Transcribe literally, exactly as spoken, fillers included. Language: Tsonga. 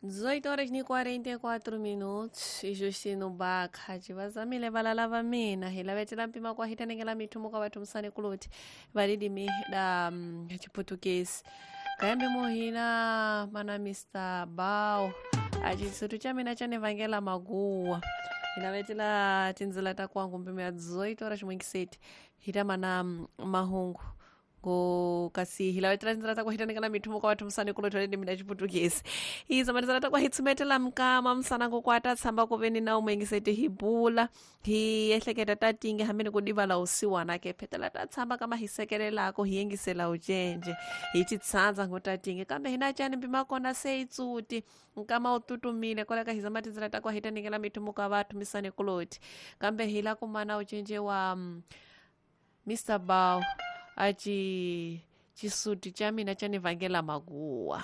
dezoito horas ni quarenta e quatro minutos e Justino Bakha civazamile valala va mina hi lavetela mpima kwa hitanengela mithumu ka vathu musani kuloti valilimi da mm, chiputukezi kayambe muhina mana Mister Bao acisutu cha mina chanivangela maguwa hilavetela tindzila ta kwangu mpimo ya dezoito horas mwingiseti hita mana mm, mahungu ngo kasi hilavetela tindzila ta kuhitanekela mithumu kwa vathu musani kuloti valilimi da chiputukezi izo matizala takwa hitsumetela mkama msana kukwata tshamba kuveni na umwengiseti hi bula hi ehleketa ta tinge hamene kudivala usiwana ke phetela ta tshamba kama hi sekelelako hi yengisela ucenje hi titshandza ngo ta tinge kambe hina cani mpima kona se itsuti nkama u tutumile koleka hi zama tindzela takwa hi tanikela mithumu ka vathu misani kuloti kambe hi la kumana ucenje wa mm, Mister Bao aci cisuti cha mina chanivangela maguwa.